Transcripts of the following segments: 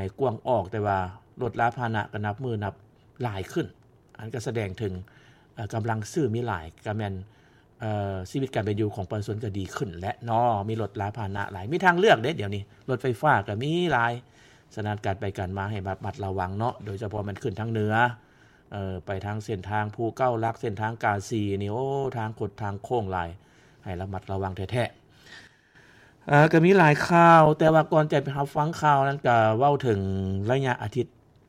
ໃຫ້ກວ້າງອອກ, ແຕ່ວ່າລົດລາພາຫະນະກໍນັບມື້ນັບຫຼາຍຂຶ້ນ. ອັນກໍສະແດງເຖິງ ເອີ ກຳລັງຊື້ມີຫຼາຍ, ກໍແມ່ນ ເອີ ຊີວິດການເປັນຢູ່ຂອງປະຊາຊົນກໍດີຂຶ້ນແຫຼະເນາະ, ມີລົດລາພາຫະນະຫຼາຍ, ມີທາງເລືອກເດ້ດຽວນີ້, ລົດໄຟຟ້າກໍມີຫຼາຍ. ສະນັ້ນການໄປການມາໃຫ້ລະມັດລະວັງເນາະ, ໂດຍສະເພາະແມ່ນຂຶ້ນທາງເໜືອ ເອີ ໄປທາງເສັ້ນທາງພູເກົ້າຫຼັກ, ເສັ້ນທາງກາສີນີ້ ໂອ້ ທາງຄົດທາງໂຄ້ງຫຼາຍ, ໃຫ້ລະມັດລະວັງແທ້ໆ. ເອີ ກໍມີຫຼາຍຂ່າວ, ແຕ່ວ່າກ່ອນຈະໄປຮັບຟັງຂ່າວນັ້ນ ກໍເວົ້າເຖິງໄລຍະອາທິດ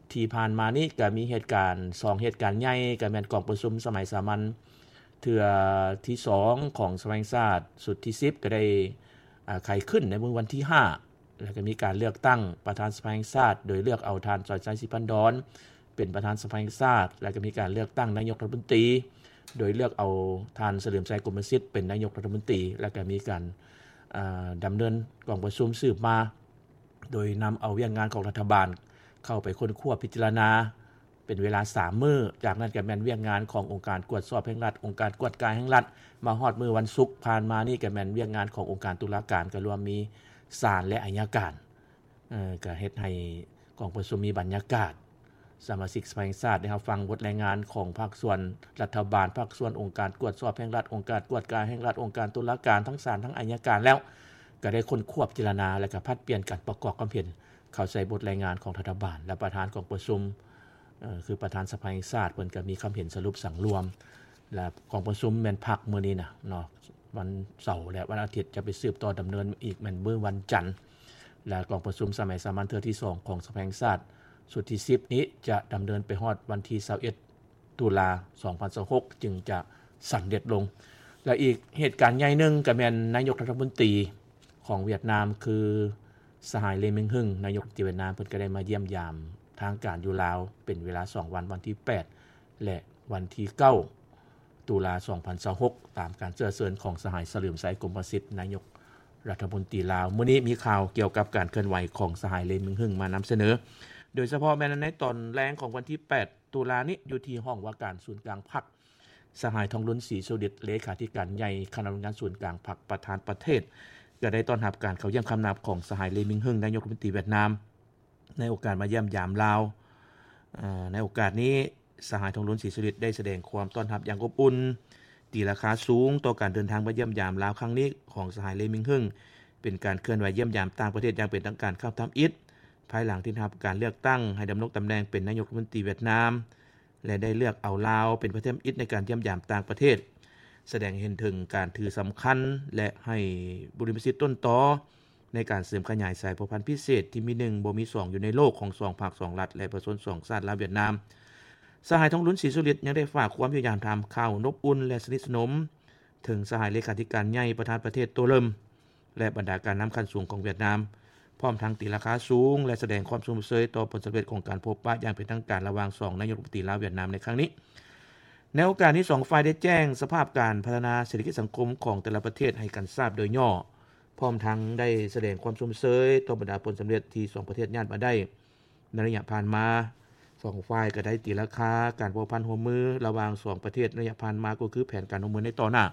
ທີ່ຜ່ານມານີ້ ກໍມີເຫດການ ສອງເຫດການໃຫຍ່, ກໍແມ່ນກອງປະຊຸມສະໄໝສາມັນເທື່ອທີສອງຂອງສະພາແຫ່ງຊາດຊຸດທີສິບ ກໍໄດ້ ອາ ໄຂຂຶ້ນໃນມື້ວັນທີຫ້າ ແລ້ວກໍມີການເລືອກຕັ້ງປະທານສະພາແຫ່ງຊາດ ໂດຍເລືອກເອົາທ່ານ ສອນໄຊ ສີພັນດອນ ເປັນປະທານສະພາແຫ່ງຊາດ, ແລ້ວກໍມີການເລືອກຕັ້ງນາຍົກລັດຖະມົນຕີ ໂດຍເລືອກເອົາທ່ານ ສະເຫຼີມໄຊ ກົມມະສິດ ເປັນນາຍົກລັດຖະມົນຕີ, ແລ້ວກໍມີການ ອາ ດຳເນີນກອງປະຊຸມສືບມາ ໂດຍນຳເອົາວຽກງານຂອງລັດຖະບານເຂົ້າໄປຄົ້ນຄວ້າພິຈາລະນາເປັນເວລາສາມມື້. ຈາກນັ້ນກໍແມ່ນວຽກງານຂອງອົງການກວດສອບແຫ່ງລັດ, ອົງການກວດກາແຫ່ງລັດ, ມາຮອດມື້ວັນສຸກຜ່ານມານີ້ກໍແມ່ນວຽກງານຂອງອົງການຕຸລາການ, ກໍລວມມີສານ ແລະ ໄອຍະການ. ເອີ ກໍເຮັດໃຫ້ກອງປະຊຸມມີບັນຍາກາດ ສະມາຊິກສະພາແຫ່ງຊາດໄດ້ຮັບຟັງບົດລາຍງານຂອງພາກສ່ວນລັດຖະບານ, ພາກສ່ວນອົງການກວດສອບແຫ່ງລັດ, ອົງການກວດກາແຫ່ງລັດ, ອົງການຕຸລາການ, ທັງສານ ທັງໄອຍະການແລ້ວ, ກໍໄດ້ຄົ້ນຄວ້າພິຈາລະນາ ແລະ ກໍຜັດປ່ຽນການປະກອບຄວາມເຫັນເຂົ້າໃສ່ບົດລາຍງານຂອງລັດຖະບານ ແລະ ປະທານກອງປະຊຸມ ເອີ ຄືປະທານສະພາແຫ່ງຊາດ ເພິ່ນກໍມີຄວາມເຫັນສະຫຼຸບສັງລວມ ແລະ ກອງປະຊຸມແມ່ນພັກມື້ນີ້ນະເນາະ, ວັນເສົາ ແລະ ວັນອາທິດ ຈະໄປສືບຕໍ່ດຳເນີນອີກແມ່ນມື້ວັນຈັນ. ແລະ ກອງປະຊຸມສະໄໝສາມັນເທື່ອທີສອງຂອງສະພາແຫ່ງຊາດຊຸດທີສິບນີ້ ຈະດຳເນີນໄປຮອດວັນທີຊາວເອັດ ຕຸລາ ສອງພັນຊາວຫົກ ຈຶ່ງຈະສຳເລັດລົງ. ແລະ ອີກເຫດການໃຫຍ່ໜຶ່ງກໍແມ່ນນາຍົກລັດຖະມົນຕີຂອງຫວຽດນາມ ຄືສະຫາຍ ເລ ມິງຮຶງ ນາຍົກລັດຖະມົນຕີຫວຽດນາມ ເພິ່ນກໍໄດ້ມາຢ້ຽມຢາມທາງການຢູ່ລາວເປັນເວລາສອງວັນ, ວັນທີແປດ ແລະ ວັນທີເກົ້າ ຕຸລາ ສອງພັນຊາວຫົກ ຕາມການເຊື້ອເຊີນຂອງສະຫາຍ ສະເຫຼີມໄຊ ກົມມະສິດ ນາຍົກລັດຖະມົນຕີລາວ. ມື້ນີ້ມີຂ່າວກ່ຽວກັບການເຄື່ອນໄຫວຂອງສະຫາຍ ເລ ມິງຮຶງ ມານຳສະເໜີ, ໂດຍສະເພາະແມ່ນໃນຕອນແລງຂອງວັນທີແປດ ຕຸລານີ້ ຢູ່ທີ່ຫ້ອງວ່າການສູນກາງພັກ, ສະຫາຍ ທອງລຸນ ສີສຸລິດ ເລຂາທິການໃຫຍ່ຄະນະບະລິຫານງານສູນກາງພັກ ປະທານປະເທດ ກໍໄດ້ຕ້ອນຮັບການເຂົ້າຢ້ຽມຄຳນັບຂອງສະຫາຍ ເລ ມິງຮຶງ ນາຍົກລັດຖະມົນຕີຫວຽດນາມ. ໃນໂອກາດມາຢ້ຽມຢາມລາວ ເອີ ໃນໂອກາດນີ້ ສະຫາຍ ທອງລຸນ ສີສຸລິດ ໄດ້ສະແດງຄວາມຕ້ອນຮັບຢ່າງອົບອຸ່ນ, ຕີລາຄາສູງຕໍ່ການເດີນທາງມາຢ້ຽມຢາມລາວຄັ້ງນີ້ຂອງສະຫາຍ ເລ ມິງຮຶງ ເປັນການເຄື່ອນໄຫວຢ້ຽມຢາມຕ່າງປະເທດຢ່າງເປັນທາງການຄັ້ງທຳອິດ ພາຍຫຼັງທີ່ໄດ້ຮັບການເລືອກຕັ້ງໃຫ້ດຳລົງຕຳແໜ່ງເປັນນາຍົກລັດຖະມົນຕີຫວຽດນາມ ແລະ ໄດ້ເລືອກເອົາລາວເປັນປະເທດທຳອິດໃນການຢ້ຽມຢາມຕ່າງປະເທດ, ສະແດງໃຫ້ເຫັນເຖິງການຖືສຳຄັນ ແລະ ໃຫ້ບຸລິມະສິດຕົ້ນຕໍໃນການເສີມຂະຫຍາຍສາຍພົວພັນພິເສດທີ່ມີໜຶ່ງບໍ່ມີສອງຢູ່ໃນໂລກຂອງສອງພັກສອງລັດ ແລະ ປະຊາຊົນສອງຊາດລາວຫວຽດນາມ. ສະຫາຍ ທອງລຸນ ສີສຸລິດ ຍັງໄດ້ຝາກຄວາມພະຍາຍາມທາມຂ່າວອົບອຸ່ນ ແລະ ສະໜິດສະໜົມເຖິງສະຫາຍເລຂາທິການໃຫຍ່ປະທານປະເທດໂຕເລິມ ແລະ ບັນດາການນຳຂັ້ນສູງຂອງຫວຽດນາມ, ພ້ອມທັງຕີລາຄາສູງ ແລະ ສະແດງຄວາມຊົມເຊີຍຕໍ່ຜົນສຳເລັດຂອງການພົບປະຢ່າງເປັນທາງການລະຫວ່າງສອງນາຍົກລັດຖະມົນຕີລາວຫວຽດນາມໃນຄັ້ງນີ້. ໃນໂອກາດນີ້ ສອງຝ່າຍໄດ້ແຈ້ງສະພາບການພັດທະນາເສດຖະກິດສັງຄົມຂອງແຕ່ລະປະເທດໃຫ້ກັນຊາບໂດຍຫຍໍ້, ພ້ອມທັງໄດ້ສະແດງຄວາມຊົມເຊີຍຕໍ່ບັນດາຜົນສຳເລັດທີ່ສອງປະເທດຍາດມາໄດ້ ໃນໄລຍະຜ່ານມາ. ສອງຝ່າຍກໍໄດ້ຕີລາຄາການພົວພັນຮ່ວມມືລະຫວ່າງສອງປະເທດໃນໄລຍະຜ່ານມາ ກໍຄືແຜນການຮ່ວມມືໃນຕໍ່ໜ້າ,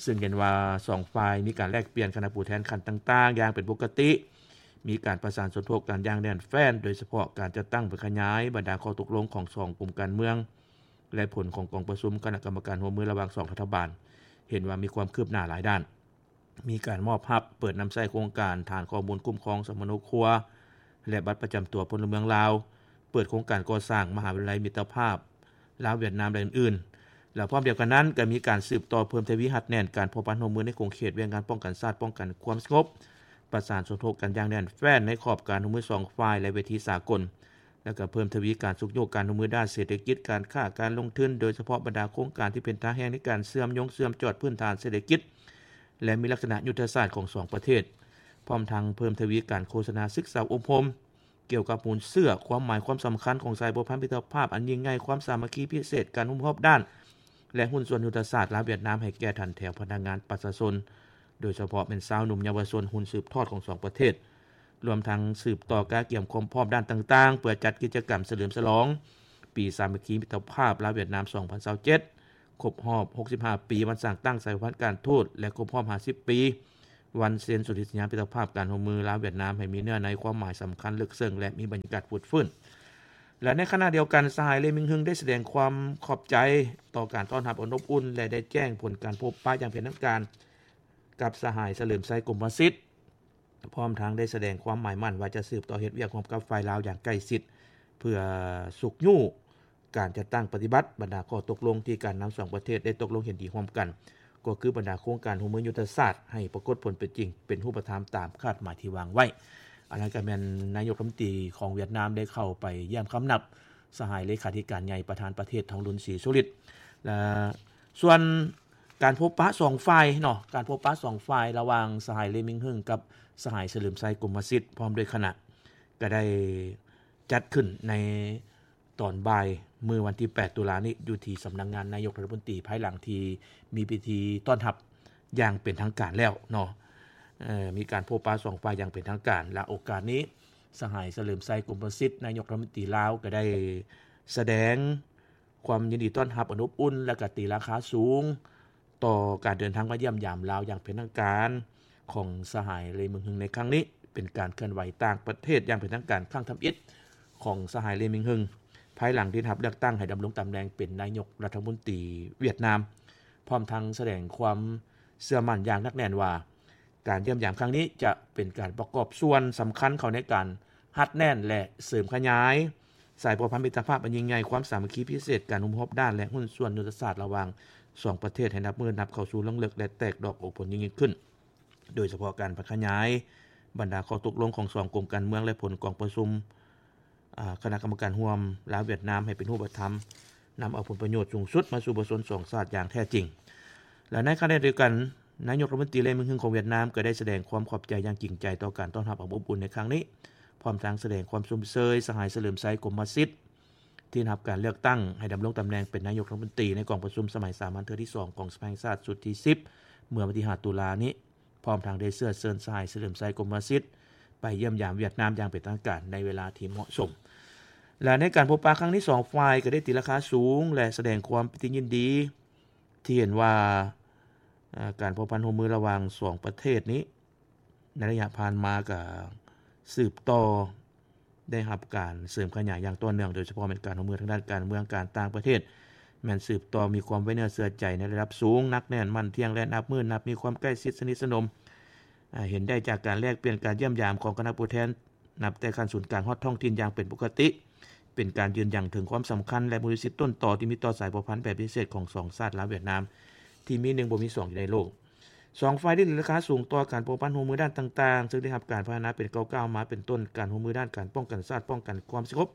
ເຊິ່ງເຫັນວ່າສອງຝ່າຍມີການແລກປ່ຽນຄະນະຜູ້ແທນຂັ້ນຕ່າງໆຢ່າງເປັນປົກກະຕິ, ມີການປະສານສົມທົບກັນຢ່າງແໜ້ນແຟ້ນ, ໂດຍສະເພາະການຈັດຕັ້ງເພື່ອຂະຫຍາຍບັນດາຂໍ້ຕົກລົງຂອງສອງກຸ່ມການເມືອງ ແລະ ຜົນຂອງກອງປະຊຸມຄະນະກຳມະການຮ່ວມມືລະຫວ່າງສອງລັດຖະບານ ເຫັນວ່າມີຄວາມຄືບໜ້າຫຼາຍດ້ານ. ມີການມອບຮັບເປີດນຳໃຊ້ໂຄງການຖານຂໍ້ມູນຄຸ້ມຄອງສຳມະໂນຄົວ ແລະ ບັດປະຈຳຕົວພົນລະເມືອງລາວ, ເປີດໂຄງການກໍ່ສ້າງມະຫາວິທະຍາໄລມິດຕະພາບລາວຫວຽດນາມ ແລະ ອື່ນໆ. ແລະ ພ້ອມດຽວກັນນັ້ນ ກໍມີການສືບຕໍ່ເພີ່ມທະວີຮັດແໜ້ນການພົວພັນຮ່ວມມືໃນຂົງເຂດວຽກງານປ້ອງກັນຊາດ, ປ້ອງກັນຄວາມສະຫງົບ, ປະສານສົມທົບກັນຢ່າງແໜ້ນແຟ້ນໃນຂອບການຮ່ວມມືສອງຝ່າຍ ແລະ ເວທີສາກົນ. ແລ້ວກໍເພີ່ມທະວີການຊຸກຍູ້ການຮ່ວມມືດ້ານເສດຖະກິດ, ການຄ້າ, ການລົງທຶນ, ໂດຍສະເພາະບັນດາໂຄງການທີ່ເປັນທ່າແຮງໃນການເຊື່ອມໂຍງເຊື່ອມຈອດພື້ນຖານເສດຖະກິດ ແລະ ມີລັກສະນະຍຸດທະສາດຂອງສອງປະເທດ, ພ້ອມທັງເພີ່ມທະວີການໂຄສະນາສຶກສາອົບຮົມກ່ຽວກັບມູນເຊື້ອ, ຄວາມໝາຍຄວາມສຳຄັນຂອງສາຍພົວພັນມິດຕະພາບອັນຍິ່ງໃຫຍ່, ຄວາມສາມັກຄີພິເສດ, ການຮ່ວມຮອບດ້ານ ແລະ ຫຸ້ນສ່ວນຍຸດທະສາດລາວຫວຽດນາມໃຫ້ແກ່ທ່ານແຖວພະນັກງານປະຊາຊົນ, ໂດຍສະເພາະແມ່ນຊາວໜຸ່ມເຍົາວະຊົນຮຸ່ນສືບທອດຂອງສອງປະເທດ. ລວມທັງສືບຕໍ່ກະກຽມຄວາມພ້ອມດ້ານຕ່າງໆ ເພື່ອຈັດກິດຈະກຳສະເຫຼີມສະຫຼອງປີສາມັກຄີມິດຕະພາບລາວຫວຽດນາມສອງພັນຊາວເຈັດ ຄົບຮອບຫົກສິບຫ້າປີວັນສ້າງຕັ້ງສາຍພັນການທູດ ແລະ ຄົບຮອບຫ້າສິບປີ ວັນເຊັນສົນທິສັນຍາມິດຕະພາບການຮ່ວມມືລາວ-ຫວຽດນາມ ໃຫ້ມີເນື້ອໃນຄວາມໝາຍສຳຄັນເລິກເຊິ່ງ ແລະ ມີບັນຍາກາດຟົດຟື້ນ. ແລະ ໃນຂະນະດຽວກັນ, ສະຫາຍ ເລມິງຮຶງ ໄດ້ສະແດງຄວາມຂອບໃຈຕໍ່ການຕ້ອນຮັບອັນອົບອຸ່ນ ແລະ ໄດ້ແຈ້ງຜົນການພົບປະຢ່າງເປັນທາງການກັບສະຫາຍ ສະເຫຼີມໄຊ ກົມປະສິດ. ພ້ອມທັງໄດ້ສະແດງຄວາມໝາຍໝັ້ນວ່າຈະສືບຕໍ່ເຮັດວຽກຮ່ວມກັບຝ່າຍລາວຢ່າງໃກ້ຊິດ ເພື່ອຊຸກຍູ້ການຈັດຕັ້ງປະຕິບັດບັນດາຂໍ້ຕົກລົງທີ່ການນຳສອງປະເທດໄດ້ຕົກລົງເຫັນດີຮ່ວມກັນ, ກໍຄືບັນດາໂຄງການຮ່ວມມືຍຸດທະສາດ ໃຫ້ປາກົດຜົນເປັນຈິງ, ເປັນຮູບປະທຳຕາມຄາດໝາຍທີ່ວາງໄວ້. ອັນນັ້ນກໍແມ່ນນາຍົກລັດຖະມົນຕີຂອງຫວຽດນາມໄດ້ເຂົ້າໄປຢ້ຽມຄຳນັບສະຫາຍເລຂາທິການໃຫຍ່ປະທານປະເທດ ທອງລຸນ ສີສຸລິດ ແລະ ສ່ວນການພົບປະສອງຝ່າຍເນາະ, ການພົບປະສອງຝ່າຍລະຫວ່າງສະຫາຍ ເລມິງຮຶງ ກັບສະຫາຍ ສະເຫຼີມໄຊ ກົມມະສິດ ພ້ອມດ້ວຍຄະນະ ກໍໄດ້ຈັດຂຶ້ນໃນຕອນບ່າຍມື້ວັນທີແປດ ຕຸລານີ້ ຢູ່ທີ່ສຳນັກງານນາຍົກລັດຖະມົນຕີ ພາຍຫຼັງທີ່ມີພິທີຕ້ອນຮັບຢ່າງເປັນທາງການແລ້ວເນາະ. ເອີ ມີການພົບປະສອງຝ່າຍຢ່າງເປັນທາງການ ແລະ ໂອກາດນີ້ ສະຫາຍ ສະເຫຼີມໄຊ ກົມມະສິດ ນາຍົກລັດຖະມົນຕີລາວ ກໍໄດ້ສະແດງ ຄວາມຍິນດີຕ້ອນຮັບອັນອົບອຸ່ນ ແລະ ກະຕີລາຄາສູງຕໍ່ການເດີນທາງມາຢ້ຽມຢາມລາວຢ່າງເປັນທາງການຂອງສະຫາຍ ເລມິງຮຶງ ໃນຄັ້ງນີ້, ເປັນການເຄື່ອນໄຫວຕ່າງປະເທດຢ່າງເປັນທາງການຄັ້ງທຳອິດຂອງສະຫາຍ ເລມິງຮຶງ ພາຍຫຼັງທີ່ໄດ້ຮັບເລືອກຕັ້ງໃຫ້ດຳລົງຕຳແໜ່ງເປັນນາຍົກລັດຖະມົນຕີຫວຽດນາມ, ພ້ອມທັງສະແດງຄວາມເຊື່ອໝັ້ນຢ່າງໜັກແໜ້ນວ່າ ການຢ້ຽມຢາມຄັ້ງນີ້ຈະເປັນການປະກອບສ່ວນສຳຄັນເຂົ້າໃນການຮັດແໜ້ນ ແລະ ເສີມຂະຫຍາຍສາຍພົວພັນມິດຕະພາບອັນຍິ່ງໃຫຍ່, ຄວາມສາມັກຄີພິເສດ, ການຮ່ວມຮອບດ້ານ ແລະ ຫຸ້ນສ່ວນຍຸດທະສາດລະຫວ່າງສອງປະເທດໃຫ້ນັບມື້ນັບເຂົ້າສູ່ລວງເລິກ ແລະ ແຕກດອກອອກຜົນຍິ່ງໆຂຶ້ນ, ໂດຍສະເພາະການຂະຫຍາຍບັນດາຂໍ້ຕົກລົງຂອງສອງກົມການເມືອງ ແລະ ຜົນກອງປະຊຸມ ອາ ຄະນະກຳມະການຮ່ວມລາວ-ຫວຽດນາມໃຫ້ເປັນຮູບປະທຳ, ນຳເອົາຜົນປະໂຫຍດສູງສຸດມາສູ່ປະຊາຊົນສອງຊາດຢ່າງແທ້ຈິງ. ແລະ ໃນຂະນະດຽວກັນ, ນາຍົກລັດຖະມົນຕີ ເລມິງຮຶງ ຂອງຫວຽດນາມ ກໍໄດ້ສະແດງຄວາມຂອບໃຈຢ່າງຈິງໃຈຕໍ່ການຕ້ອນຮັບອັນອົບອຸ່ນໃນຄັ້ງນີ້, ພ້ອມທັງສະແດງຄວາມຊົມເຊີຍສະຫາຍ ສະເຫຼີມໄຊ ກົມມະສິດ ທີ່ໄດ້ຮັບການເລືອກຕັ້ງໃຫ້ດຳລົງຕຳແໜ່ງເປັນນາຍົກລັດຖະມົນຕີໃນກອງປະຊຸມສະໄໝສາມັນເທື່ອທີສອງຂອງສະພາແຫ່ງຊາດຊຸດທີສິບ ເມື່ອວັນທີຫ້າ ຕຸລານີ້. ພ້ອມທັງໄດ້ເຊື້ອເຊີນສະຫາຍ ສະເຫຼີມໄຊ ກົມມະສິດ ໄປຢ້ຽມຢາມຫວຽດນາມຢ່າງເປັນທາງການໃນເວລາທີ່ເໝາະສົມ. ແລະ ໃນການພົບປະຄັ້ງນີ້ ສອງຝ່າຍກໍໄດ້ຕີລາຄາສູງ ແລະ ສະແດງຄວາມປີຕິຍິນດີ ທີ່ເຫັນວ່າ ເອີ ການພົວພັນຮ່ວມມືລະຫວ່າງສອງປະເທດນີ້ ໃນໄລຍະຜ່ານມາກໍສືບຕໍ່ ໄດ້ຮັບການເສີມຂະຫຍາຍຢ່າງຕໍ່ເນື່ອງ, ໂດຍສະເພາະແມ່ນການຮ່ວມມືທາງດ້ານການເມືອງ, ການຕ່າງປະເທດ ແມ່ນສືບຕໍ່ມີຄວາມໄວ້ເນື້ອເຊື່ອໃຈໃນລະດັບສູງ, ໜັກແໜ້ນ, ໝັ້ນທ່ຽງ ແລະ ນັບມື້ນັບມີຄວາມໃກ້ຊິດສະໜິດສະໜົມ, ອາ, ເຫັນໄດ້ຈາກການແລກປ່ຽນ, ການຢ້ຽມຢາມຂອງຄະນະຜູ້ແທນ ນັບແຕ່ຂັ້ນສູນກາງຮອດທ້ອງຖິ່ນຢ່າງເປັນປົກກະຕິ, ເປັນການຢືນຢັນເຖິງຄວາມສຳຄັນ ແລະ ມູນລິທິດຕົ້ນຕໍທີ່ມີຕໍ່ສາຍພົວພັນແບບພິເສດຂອງສອງຊາດລາວ-ຫວຽດນາມ ທີ່ມີໜຶ່ງບໍ່ມີສອງຢູ່ໃນໂລກ. ສອງຝ່າຍໄດ້ຕີລາຄາສູງຕໍ່ການພົວພັນຮ່ວມມືດ້ານຕ່າງໆ ເຊິ່ງໄດ້ຮັບການພັດທະນາເປັນກ້າວໆມາ, ເປັນຕົ້ນການຮ່ວມມືດ້ານການປ້ອງກັນຊາດ, ປ້ອງກັນຄວາມສະຫງົບ,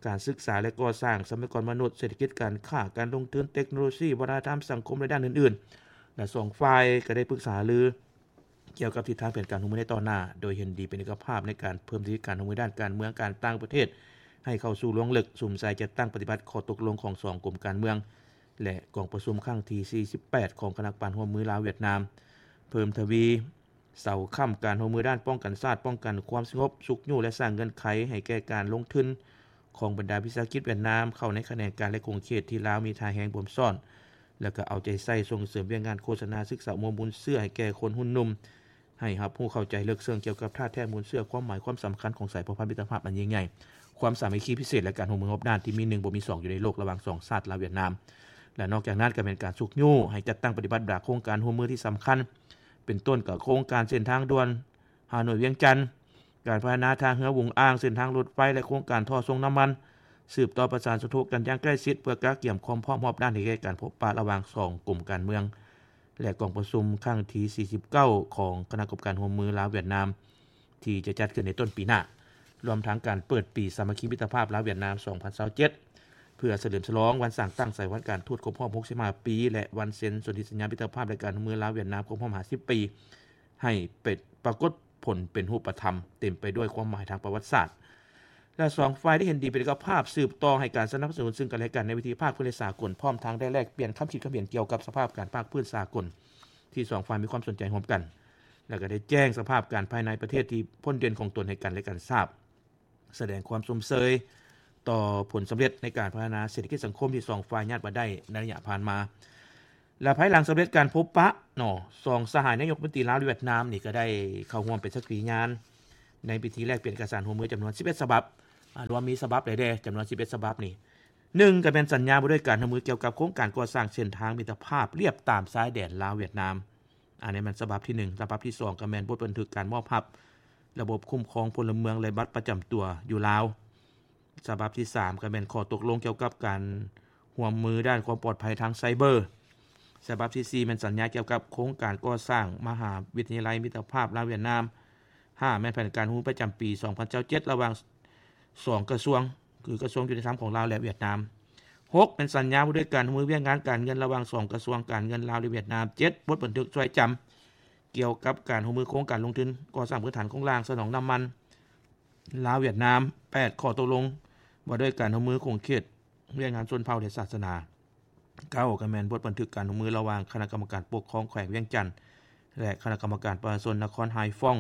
ການສຶກສາ ແລະ ກໍ່ສ້າງ, ຊັບພະຍາກອນມະນຸດ, ເສດຖະກິດ, ການຄ້າ, ການລົງທຶນ, ເຕັກໂນໂລຊີ, ວັດທະນະທຳ, ສັງຄົມ ແລະ ດ້ານອື່ນໆ. ແລະ ສອງຝ່າຍກໍໄດ້ປຶກສາຫາລື ກ່ຽວກັບທິດທາງແຜນການຮ່ວມມືໃນຕໍ່ໜ້າ, ໂດຍເຫັນດີເປັນເອກະພາບໃນການເພີ່ມທະວີການຮ່ວມມືດ້ານການເມືອງ, ການຕ່າງປະເທດ ໃຫ້ເຂົ້າສູ່ລວງເລິກ, ສຸມໃສ່ຈັດຕັ້ງປະຕິບັດຂໍ້ຕົກລົງຂອງສອງກົມການເມືອງ ແລະ ກອງປະຊຸມຄັ້ງທີສີ່ສິບແປດ ຂອງຄະນະກຳມະການຮ່ວມມືລາວ-ຫວຽດນາມ, ເພີ່ມທະວີເສົາຄ້ຳການຮ່ວມມືດ້ານປ້ອງກັນຊາດ, ປ້ອງກັນຄວາມສະຫງົບ, ຊຸກຍູ້ ແລະ ສ້າງເງື່ອນໄຂໃຫ້ແກ່ການລົງທຶນ ຂອງບັນດາວິສາຫະກິດຫວຽດນາມເຂົ້າໃນຂະແໜງການ ແລະ ຂົງເຂດທີ່ລາວມີທ່າແຮງບົ່ມຊ້ອນ, ແລ້ວກໍເອົາໃຈໃສ່ສົ່ງເສີມວຽກງານໂຄສະນາສຶກສາອຸໂມງມູນເຊື້ອໃຫ້ແກ່ຄົນຮຸ່ນໜຸ່ມ, ໃຫ້ຮັບຮູ້ເຂົ້າໃຈເລິກເຊິ່ງກ່ຽວກັບທ່າແທ້ມູນເຊື້ອ, ຄວາມໝາຍຄວາມສຳຄັນຂອງສາຍພົວພັນມິດຕະພາບອັນຍິ່ງໃຫຍ່, ຄວາມສາມັກຄີພິເສດ ແລະ ການຮ່ວມມືຮອບດ້ານທີ່ມີໜຶ່ງບໍ່ມີສອງຢູ່ໃນໂລກລະຫວ່າງສອງຊາດລາວ-ຫວຽດນາມ. ແລະ ນອກຈາກນັ້ນກໍແມ່ນການຊຸກຍູ້ໃຫ້ຈັດຕັ້ງປະຕິບັດບັນດາໂຄງການຮ່ວມມືທີ່ສຳຄັນ, ເປັນຕົ້ນກໍໂຄງການເສັ້ນທາງດ່ວນ ຮ່າໂນ້ຍ-ວຽງຈັນ, ການພັດທະນາທ່າເຮືອຫວຸງອ່າງ, ເສັ້ນທາງລົດໄຟ ແລະ ໂຄງການທໍ່ສົ່ງນ້ຳມັນ, ສືບຕໍ່ປະສານສົນທົບກັນຢ່າງໃກ້ຊິດ ເພື່ອກະກຽມຄວາມພ້ອມຮອບດ້ານໃຫ້ແກ່ການພົບປະລະຫວ່າງສອງກົມການເມືອງ ແລະ ກອງປະຊຸມຄັ້ງທີສີ່ສິບເກົ້າ ຂອງຄະນະກຳມະການຮ່ວມມືລາວ-ຫວຽດນາມ ທີ່ຈະຈັດຂຶ້ນໃນຕົ້ນປີໜ້າ, ລວມທັງການເປີດປີສາມັກຄີມິດຕະພາບລາວ-ຫວຽດນາມ ສອງພັນຊາວເຈັດ ເພື່ອສະເຫຼີມສະຫຼອງວັນສ້າງຕັ້ງສາຍພັນການທູດຄົບຮອບຫົກສິບຫ້າປີ ແລະ ວັນເຊັນສົນທິສັນຍາມິດຕະພາບ ແລະ ການຮ່ວມມືລາວ-ຫວຽດນາມຄົບຮອບຫ້າສິບປີ ໃຫ້ເປັນ ປາກົດຜົນເປັນຮູບປະທຳ, ເຕັມໄປດ້ວຍຄວາມໝາຍທາງປະຫວັດສາດ ແລະ ສອງຝ່າຍໄດ້ເຫັນດີເປັນເອກະພາບ ສືບຕໍ່ໃຫ້ການສະໜັບສະໜູນເຊິ່ງກັນແລະກັນໃນເວທີພາກພື້ນ ແລະ ສາກົນ, ພ້ອມທັງໄດ້ແລກປ່ຽນຄຳຄິດຄຳເຫັນກ່ຽວກັບສະພາບການພາກພື້ນສາກົນທີ່ສອງຝ່າຍມີຄວາມສົນໃຈຮ່ວມກັນ, ແລະ ກໍໄດ້ແຈ້ງສະພາບການພາຍໃນປະເທດທີ່ພົ້ນເດັ່ນຂອງຕົນໃຫ້ກັນແລະກັນຊາບ. ສະແດງຄວາມຊົມເຊີຍຕໍ່ຜົນສຳເລັດໃນການພັດທະນາເສດຖະກິດສັງຄົມທີ່ສອງຝ່າຍຍາດມາໄດ້ໃນໄລຍະຜ່ານມາ. ແລະ ພາຍຫຼັງສຳເລັດການພົບປະເນາະ ສອງສະຫາຍນາຍົກລັດຖະມົນຕີລາວ ແລະ ຫວຽດນາມນີ້ ກໍໄດ້ເຂົ້າຮ່ວມເປັນສັກຂີຍານໃນພິທີແລກປ່ຽນເອກະສານຮ່ວມມືຈຳນວນສິບເອັດສະບັບ, ອາ, ລວມມີສະບັບໃດແດ່ ຈຳນວນສິບເອັດສະບັບນີ້. ໜຶ່ງ ກໍແມ່ນສັນຍາວ່າດ້ວຍການຮ່ວມມືກ່ຽວກັບໂຄງການກໍ່ສ້າງເສັ້ນທາງມິດຕະພາບລຽບຕາມຊາຍແດນລາວ-ຫວຽດນາມ. ອັນນີ້ແມ່ນສະບັບທີໜຶ່ງ. ສະບັບທີສອງ ກໍແມ່ນບົດບັນທຶກການມອບຮັບລະບົບຄຸ້ມຄອງພົນລະເມືອງ ແລະ ບັດປະຈຳຕົວຢູ່ລາວ. ສະບັບທີສາມ ກໍແມ່ນຂໍ້ຕົກລົງກ່ຽວກັບການຮ່ວມມືດ້ານຄວາມປອດໄພທາງໄຊເບີ. ສະບັບທີສີ່ ແມ່ນສັນຍາກ່ຽວກັບໂຄງການກໍ່ສ້າງມະຫາວິທະຍາໄລມິດຕະພາບລາວ-ຫວຽດນາມ. ຫ້າ ແມ່ນແຜນການຮ່ວມມືປະຈຳປີສອງພັນຊາວເຈັດ ລະຫວ່າງສອງກະຊວງ ຄືກະຊວງຍຸຕິທຳຂອງລາວ ແລະ ຫວຽດນາມ. ຫົກ ແມ່ນສັນຍາວ່າດ້ວຍການຮ່ວມມືວຽກງານການເງິນລະຫວ່າງສອງກະຊວງການເງິນລາວ ແລະ ຫວຽດນາມ. ເຈັດ ບົດບັນທຶກຊ່ວຍຈຳກ່ຽວກັບການຮ່ວມມືໂຄງການລົງທຶນກໍ່ສ້າງພື້ນຖານໂຄງລ່າງສະໜອງນ້ຳມັນລາວ-ຫວຽດນາມ. ແປດ ຂໍ້ຕົກລົງວ່າດ້ວຍການຮ່ວມມືຂົງເຂດວຽກງານຊົນເຜົ່າ ແລະ ສາສະໜາ. ເກົ້າ ກໍແມ່ນບົດບັນທຶກການຮ່ວມມືລະຫວ່າງຄະນະກຳມະການປົກຄອງແຂວງວຽງຈັນ ແລະ ຄະນະກຳມະການປະຊາຊົນນະຄອນໄຮຟອງ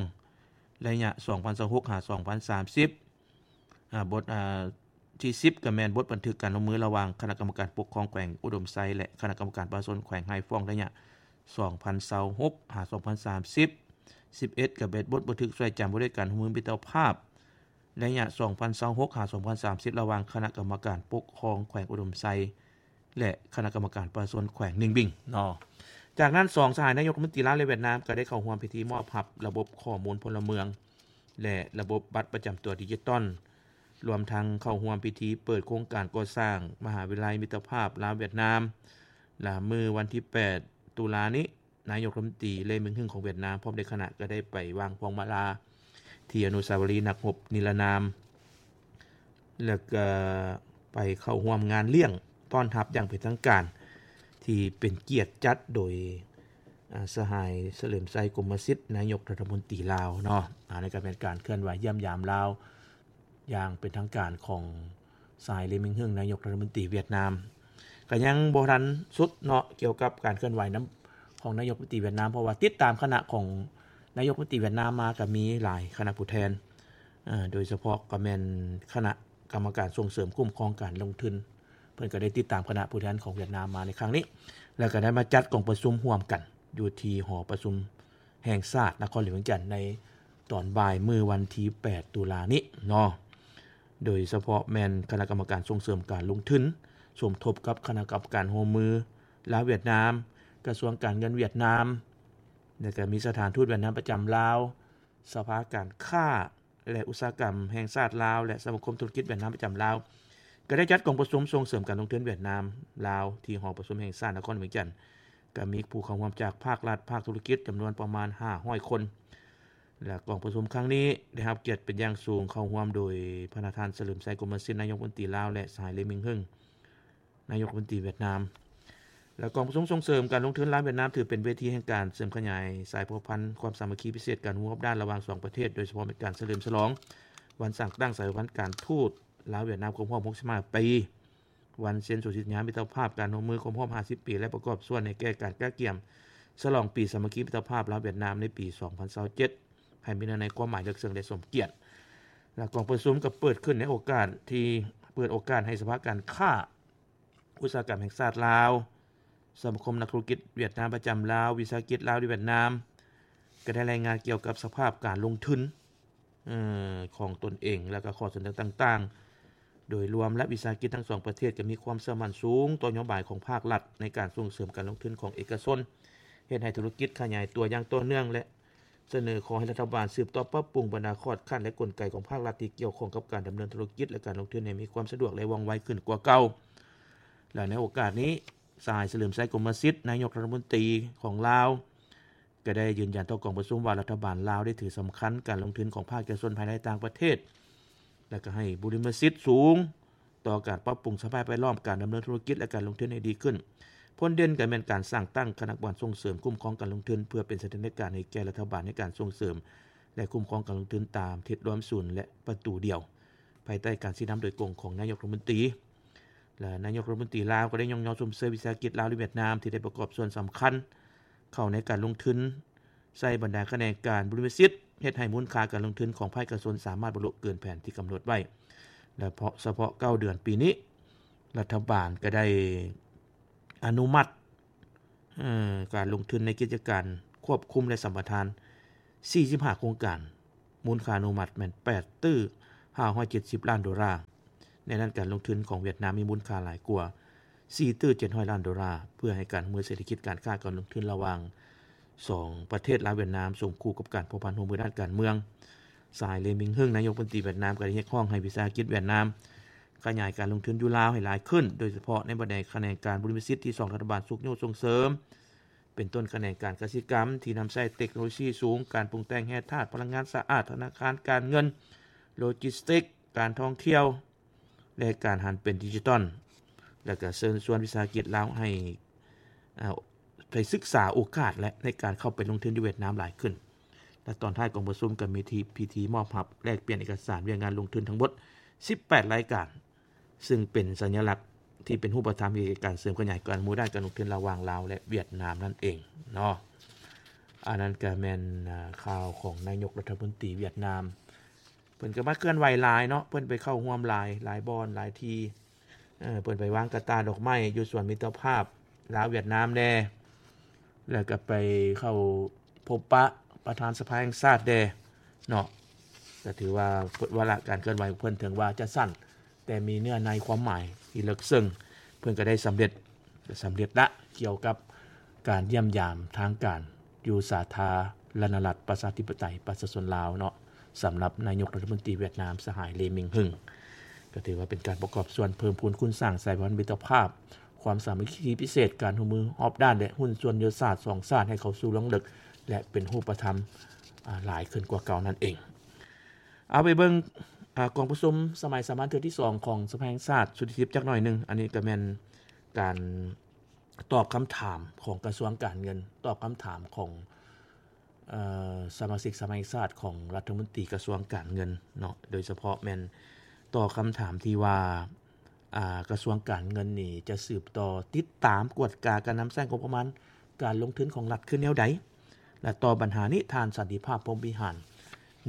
ໄລຍະສອງພັນຊາວຫົກ ຫາ ສອງພັນສາມສິບ. ອາ, ບົດ, ອາ, ທີສິບ ກໍແມ່ນບົດບັນທຶກການຮ່ວມມືລະຫວ່າງຄະນະກຳມະການປົກຄອງແຂວງອຸດົມໄຊ ແລະ ຄະນະກຳມະການປະຊາຊົນແຂວງໄຮຟອງ ໄລຍະສອງພັນຊາວຫົກ ຫາ ສອງພັນສາມສິບ. ສິບເອັດ ກໍແມ່ນບົດບັນທຶກຊ່ວຍຈຳວ່າດ້ວຍການຮ່ວມມືມິດຕະພາບ ໄລຍະສອງພັນຊາວຫົກ ຫາ ສອງພັນສາມສິບ ລະຫວ່າງຄະນະກຳມະການປົກຄອງແຂວງອຸດົມໄຊ ແລະ ຄະນະກຳມະການປະຊາຊົນແຂວງໜິງບິງເນາະ. ຈາກນັ້ນ ສອງສະຫາຍນາຍົກລັດຖະມົນຕີລາວ ແລະ ຫວຽດນາມ ກໍໄດ້ເຂົ້າຮ່ວມພິທີມອບຮັບລະບົບຂໍ້ມູນພົນລະເມືອງ ແລະ ລະບົບບັດປະຈຳຕົວດິຈິຕອນ, ລວມທັງເຂົ້າຮ່ວມພິທີເປີດໂຄງການກໍ່ສ້າງມະຫາວິທະຍາໄລມິດຕະພາບລາວ-ຫວຽດນາມ ລະມື້ວັນທີແປດ ຕຸລານີ້. ນາຍົກລັດຖະມົນຕີ ເລ ມິງຮຶງ ຂອງຫວຽດນາມ ພ້ອມດ້ວຍຄະນະ ກໍໄດ້ໄປວາງພວງມາລາທີ່ອະນຸສາວະລີນັກຮົບນິລະນາມ ແລ້ວກໍໄປເຂົ້າຮ່ວມງານລ້ຽງຕ້ອນຮັບຢ່າງເປັນທາງການ ທີ່ເປັນກຽດຈັດໂດຍ ອາ, ສະຫາຍ ສະເຫຼີມໄຊ ກົມມະສິດ ນາຍົກລັດຖະມົນຕີລາວເນາະ. ອາ, ອັນນີ້ກໍເປັນການເຄື່ອນໄຫວຢ້ຽມຢາມລາວ ຢ່າງເປັນທາງການຂອງສະຫາຍ ເລ ມິງຮຶງ ນາຍົກລັດຖະມົນຕີຫວຽດນາມ. ກໍຍັງບໍ່ທັນສຸດເນາະ ກ່ຽວກັບການເຄື່ອນໄຫວນຳຂອງນາຍົກລັດຖະມົນຕີຫວຽດນາມ, ເພາະວ່າຕິດຕາມຄະນະຂອງນາຍົກລັດຖະມົນຕີຫວຽດນາມມາກໍມີຫຼາຍຄະນະຜູ້ແທນ, ເອີ, ໂດຍສະເພາະກໍແມ່ນຄະນະກຳມະການສົ່ງເສີມຄຸ້ມຄອງການລົງທຶນ, ເພິ່ນກໍໄດ້ຕິດຕາມຄະນະຜູ້ແທນຂອງຫວຽດນາມມາໃນຄັ້ງນີ້ ແລ້ວກໍໄດ້ມາຈັດກອງປະຊຸມຮ່ວມກັນຢູ່ທີ່ຫໍປະຊຸມ ແຫ່ງຊາດນະຄອນຫຼວງວຽງຈັນ ໃນຕອນບ່າຍມື້ວັນທີແປດ ຕຸລານີ້ເນາະ, ໂດຍສະເພາະແມ່ນຄະນະກຳມະການສົ່ງເສີມການລົງທຶນ ສົມທົບກັບຄະນະກຳມະການຮ່ວມມືລາວ-ຫວຽດນາມ, ກະຊວງການເງິນຫວຽດນາມ, ແລ້ວກະມີສະຖານທູດຫວຽດນາມປະຈຳລາວ, ສະພາການຄ້າ ແລະ ອຸດສາຫະກຳແຫ່ງຊາດລາວ ແລະ ສະມາຄົມທຸລະກິດຫວຽດນາມປະຈຳລາວ ກໍໄດ້ຈັດກອງປະຊຸມສົ່ງເສີມການລົງທຶນຫວຽດນາມ-ລາວ ທີ່ຫໍປະຊຸມແຫ່ງຊາດນະຄອນຫຼວງວຽງຈັນ, ກໍມີຜູ້ເຂົ້າຮ່ວມຈາກພາກລັດ, ພາກທຸລະກິດ ຈຳນວນປະມານຫ້າຮ້ອຍຄົນ. ແລະ ກອງປະຊຸມຄັ້ງນີ້ໄດ້ຮັບກຽດເປັນຢ່າງສູງເຂົ້າຮ່ວມໂດຍພະນະທ່ານ ສະເຫຼີມໄຊ ກົມມະສິດ ນາຍົກລັດຖະມົນຕີລາວ ແລະ ສະຫາຍ ເລ ມິງຮຶງ ນາຍົກລັດຖະມົນຕີຫວຽດນາມ. ແລະ ກອງປະຊຸມສົ່ງເສີມການລົງທຶນລາວ-ຫວຽດນາມ ຖືເປັນເວທີແຫ່ງການເສີມຂະຫຍາຍສາຍພົວພັນຄວາມສາມັກຄີພິເສດ ການຮ່ວມກັບດ້ານລະຫວ່າງສອງປະເທດ, ໂດຍສະເພາະແມ່ນການສະເຫຼີມສະຫຼອງວັນສ້າງຕັ້ງສາຍພັນການທູດລາວ-ຫວຽດນາມຄົບຮອບຫົກສິບຫ້າປີ, ວັນເຊັນສົນທິສັນຍາມິດຕະພາບການຮ່ວມມືຄົບຮອບຫ້າສິບປີ ແລະ ປະກອບສ່ວນໃນແກ່ການກະກຽມສະຫຼອງປີສາມັກຄີມິດຕະພາບລາວ-ຫວຽດນາມໃນປີສອງພັນຊາວເຈັດ ໃຫ້ມີເນື້ອໃນຄວາມໝາຍເລິກເຊິ່ງ ແລະ ສົມກຽດ. ແລະ ກອງປະຊຸມກໍເປີດຂຶ້ນໃນໂອກາດທີ່ ເປີດໂອກາດໃຫ້ສະພາການຄ້າ ອຸດສາຫະກຳແຫ່ງຊາດລາວ, ສະມາຄົມນັກທຸລະກິດຫວຽດນາມປະຈຳລາວ, ວິສາຫະກິດລາວ ແລະ ຫວຽດນາມ ກໍໄດ້ລາຍງານກ່ຽວກັບສະພາບການລົງທຶນ ເອີ ຂອງຕົນເອງ ແລະ ກໍຂໍ້ສະເໜີຕ່າງໆ ໂດຍລວມ ແລະ ວິສາຫະກິດທັງສອງປະເທດກໍມີຄວາມເຊື່ອໝັ້ນສູງຕໍ່ນະໂຍບາຍຂອງພາກລັດໃນການສົ່ງເສີມການລົງທຶນຂອງເອກະຊົນ, ເຮັດໃຫ້ທຸລະກິດຂະຫຍາຍຕົວຢ່າງຕໍ່ເນື່ອງ ແລະ ສະເໜີຂໍໃຫ້ລັດຖະບານສືບຕໍ່ປັບປຸງບັນດາຂອດຂັ້ນ ແລະ ກົນໄກຂອງພາກລັດທີ່ກ່ຽວຂ້ອງກັບການດຳເນີນທຸລະກິດ ແລະ ການລົງທຶນໃຫ້ມີຄວາມສະດວກ ແລະ ວ່ອງໄວຂຶ້ນກວ່າເກົ່າ. ແລະ ໃນໂອກາດນີ້ ສະຫາຍ ສະເຫຼີມໄຊ ກົມມະສິດ ນາຍົກລັດຖະມົນຕີຂອງລາວ ກໍໄດ້ຢືນຢັນຕໍ່ກອງປະຊຸມວ່າ ລັດຖະບານລາວໄດ້ຖືສຳຄັນການລົງທຶນຂອງພາກເອກະຊົນພາຍໃນ ແລະ ຕ່າງປະເທດ ແລະ ກໍໃຫ້ບຸລິມະສິດສູງຕໍ່ການປັບປຸງສະພາບແວດລ້ອມການດຳເນີນທຸລະກິດ ແລະ ການລົງທຶນໃຫ້ດີຂຶ້ນ. ຜົນເດັ່ນກໍແມ່ນການສ້າງຕັ້ງຄະນະກຳມະການສົ່ງເສີມຄຸ້ມຄອງການລົງທຶນ ເພື່ອເປັນສະຖານການໃຫ້ແກ່ລັດຖະບານໃນການສົ່ງເສີມ ແລະ ຄຸ້ມຄອງການລົງທຶນຕາມທິດລວມສູນ ແລະ ປະຕູດຽວ ພາຍໃຕ້ການຊີ້ນຳໂດຍກົງຂອງນາຍົກລັດຖະມົນຕີ. ແລະ ນາຍົກລັດຖະມົນຕີລາວກໍໄດ້ຍ້ອງຍໍຊົມເຊີຍວິສາຫະກິດລາວ ແລະ ຫວຽດນາມ ທີ່ໄດ້ປະກອບສ່ວນສຳຄັນເຂົ້າໃນການລົງທຶນ ໃສ່ບັນດາຂະແໜງການບຸລິມະສິດ ເຮັດໃຫ້ມູນຄ່າການລົງທຶນຂອງພາກເອກະຊົນສາມາດບັນລຸເກີນແຜນທີ່ກຳນົດໄວ້. ແລະ ເພາະສະເພາະເກົ້າເດືອນປີນີ້, ລັດຖະບານກໍໄດ້ອະນຸມັດ ເອີ ການລົງທຶນໃນກິດຈະການຄວບຄຸມ ແລະ ສຳປະທານສີ່ສິບຫ້າໂຄງການ, ມູນຄ່າອະນຸມັດແມ່ນແປດຕື້ຫ້າຮ້ອຍເຈັດສິບລ້ານໂດລາ. ໃນນັ້ນການລົງທຶນຂອງຫວຽດນາມມີມູນຄ່າຫຼາຍກວ່າສີ່ຕື້ເຈັດຮ້ອຍລ້ານໂດລາ ເພື່ອໃຫ້ການຮ່ວມມືເສດຖະກິດ, ການຄ້າ, ການລົງທຶນລະຫວ່າງສອງປະເທດລາວ-ຫວຽດນາມ ສົມຄູ່ກັບການພົວພັນຮ່ວມມືດ້ານການເມືອງ. ສະຫາຍ ເລ ມິງ ຫຶງ ນາຍົກລັດຖະມົນຕີຫວຽດນາມ ກໍໄດ້ຮຽກຮ້ອງໃຫ້ວິສາຫະກິດຫວຽດນາມຂະຫຍາຍການລົງທຶນຢູ່ລາວໃຫ້ຫຼາຍຂຶ້ນ, ໂດຍສະເພາະໃນບັນດາຂະແໜງການບຸລິມະສິດທີ່ສອງລັດຖະບານຊຸກຍູ້ສົ່ງເສີມ ເປັນຕົ້ນຂະແໜງການກະສິກຳທີ່ນຳໃຊ້ເຕັກໂນໂລຊີສູງ, ການປຸງແຕ່ງແຮ່ທາດ, ພະລັງງານສະອາດ, ທະນາຄານການເງິນ, ໂລຈິສຕິກ, ການທ່ອງທ່ຽວ ແລະ ການຫັນເປັນດິຈິຕອນ ແລະ ກະເຊີນຊວນວິສາຫະກິດລາວໃຫ້ ເອີ ໄປສຶກສາໂອກາດ ແລະ ໃນການເຂົ້າໄປລົງທຶນຢູ່ຫວຽດນາມຫຼາຍຂຶ້ນ. ແລະ ຕອນທ້າຍກອງປະຊຸມກໍມີທີ່ ພິທີມອບຮັບແລກປ່ຽນເອກະສານວຽກງານລົງທຶນທັງໝົດສິບແປດລາຍການ, ຊຶ່ງເປັນສັນຍະລັກທີ່ເປັນຮູບປະທຳໃຫ້ແກ່ການເສີມຂະຫຍາຍການຮ່ວມມືດ້ານການລົງທຶນລະຫວ່າງລາວ ແລະ ຫວຽດນາມນັ້ນເອງເນາະ. ອັນນັ້ນກໍແມ່ນ ອາ ຂ່າວຂອງນາຍົກລັດຖະມົນຕີຫວຽດນາມ. ເພິ່ນກໍມາເຄື່ອນໄຫວຫຼາຍເນາະ, ເພິ່ນໄປເຂົ້າຮ່ວມຫຼາຍ ຫຼາຍບ່ອນ ຫຼາຍທີ່. ເອີ ເພິ່ນໄປວາງກະຕ່າດອກໄມ້ຢູ່ສວນມິດຕະພາບລາວຫວຽດນາມແດ່ ແລ້ວກໍໄປເຂົ້າພົບປະປະທານສະພາແຫ່ງຊາດແດ່ເນາະ. ກໍຖືວ່າວາລະການເຄື່ອນໄຫວຂອງເພິ່ນເຖິງວ່າຈະສັ້ນ, ແຕ່ມີເນື້ອໃນຄວາມໝາຍທີ່ເລິກເຊິ່ງ. ເພິ່ນກໍໄດ້ສຳເລັດ ສຳເລັດລະ ກ່ຽວກັບການຢ້ຽມຢາມທາງການຢູ່ສາທາລະນະລັດ ປະຊາທິປະໄຕ ປະຊາຊົນລາວເນາະ, ສຳລັບນາຍົກລັດຖະມົນຕີຫວຽດນາມ ສະຫາຍ ເລ ມິງ ຫຶງ. ກໍຖືວ່າເປັນການປະກອບສ່ວນເພີ່ມພູນຄູນສ້າງສາຍພັນມິດຕະພາບ, ຄວາມສາມັກຄີພິເສດ, ການຮ່ວມມືຮອບດ້ານ ແລະ ຫຸ້ນສ່ວນຍຸດທະສາດສອງຊາດໃຫ້ເຂົ້າສູ່ລວງເລິກ ແລະ ເປັນຮູບປະທຳ ອາ ຫຼາຍຂຶ້ນກວ່າເກົ່ານັ້ນເອງ. ເອົາໄປເບິ່ງ ອາ ກອງປະຊຸມສະໄໝສາມັນເທື່ອທີສອງຂອງສະພາແຫ່ງຊາດຊຸດທີສິບຈັກໜ້ອຍໜຶ່ງ. ອັນນີ້ກໍແມ່ນການຕອບຄຳຖາມຂອງກະຊວງການເງິນ, ຕອບຄຳຖາມຂອງ ເອີ ສະມາຊິກສະພາແຫ່ງຊາດຂອງລັດຖະມົນຕີກະຊວງການເງິນເນາະ, ໂດຍສະເພາະແມ່ນຕອບຄຳຖາມທີ່ວ່າ ອາ ກະຊວງການເງິນນີ້ຈະສືບຕໍ່ຕິດຕາມກວດກາການນຳໃຊ້ງົບປະມານການລົງທຶນຂອງລັດຄືແນວໃດ? ແລະ ຕໍ່ບັນຫານີ້ ທ່ານ ສັນຕິພາບ ພົມວິຫານ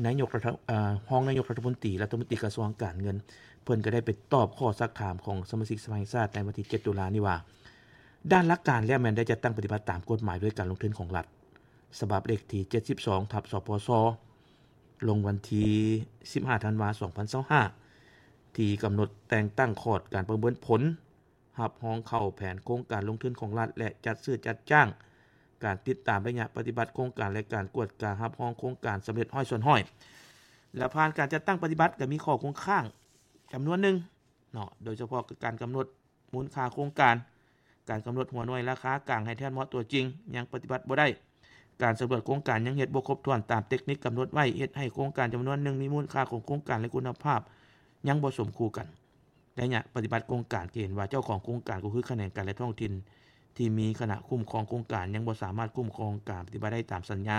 ນາຍົກລັດຖະ ເອີ ຮອງນາຍົກລັດຖະມົນຕີ ລັດຖະມົນຕີກະຊວງການເງິນ ເພິ່ນກໍໄດ້ໄປຕອບຂໍ້ຊັກຖາມຂອງສະມາຊິກສະພາແຫ່ງຊາດໃນວັນທີເຈັດຕຸລານີ້ວ່າ ດ້ານຫຼັກການແລ້ວແມ່ນໄດ້ຈັດຕັ້ງປະຕິບັດຕາມກົດໝາຍດ້ວຍການລົງທຶນຂອງລັດ ສະບັບເລກທີເຈັດສິບສອງ ທັບ ສພຊ ລົງວັນທີສິບຫ້າ ທັນວາ ສອງພັນຊາວຫ້າ ທີ່ກຳນົດແຕ່ງຕັ້ງຄອດການປະເມີນຜົນ ຮັບຮອງເຂົ້າແຜນໂຄງການລົງທຶນຂອງລັດ ແລະ ຈັດຊື້ຈັດຈ້າງ, ການຕິດຕາມໄລຍະປະຕິບັດໂຄງການ ແລະ ການກວດກາຮັບຮອງໂຄງການສຳເລັດຮ້ອຍສ່ວນຮ້ອຍ ແລະ ຜ່ານການຈັດຕັ້ງປະຕິບັດ ກໍມີຂໍ້ຄົງຄ້າງຈຳນວນໜຶ່ງເນາະ, ໂດຍສະເພາະຄືການກຳນົດມູນຄ່າໂຄງການ, ການກຳນົດຫົວໜ່ວຍລາຄາກາງໃຫ້ແທດເໝາະຕົວຈິງ ຍັງປະຕິບັດບໍ່ໄດ້, ການສຳຫຼວດໂຄງການຍັງເຮັດບໍ່ຄົບຖ້ວນຕາມເຕັກນິກກຳນົດໄວ້, ເຮັດໃຫ້ໂຄງການຈຳນວນໜຶ່ງມີມູນຄ່າຂອງໂຄງການ ແລະ ຄຸນນະພາບຍັງບໍ່ສົມຄູ່ກັນ. ໄລຍະປະຕິບັດໂຄງການ ກໍເຫັນວ່າເຈົ້າຂອງໂຄງການ ກໍຄືຂະແໜງການ ແລະ ທ້ອງຖິ່ນ ທີ່ມີຄະນະຄຸ້ມຄອງໂຄງການ ຍັງບໍ່ສາມາດຄຸ້ມຄອງການປະຕິບັດໄດ້ຕາມສັນຍາ,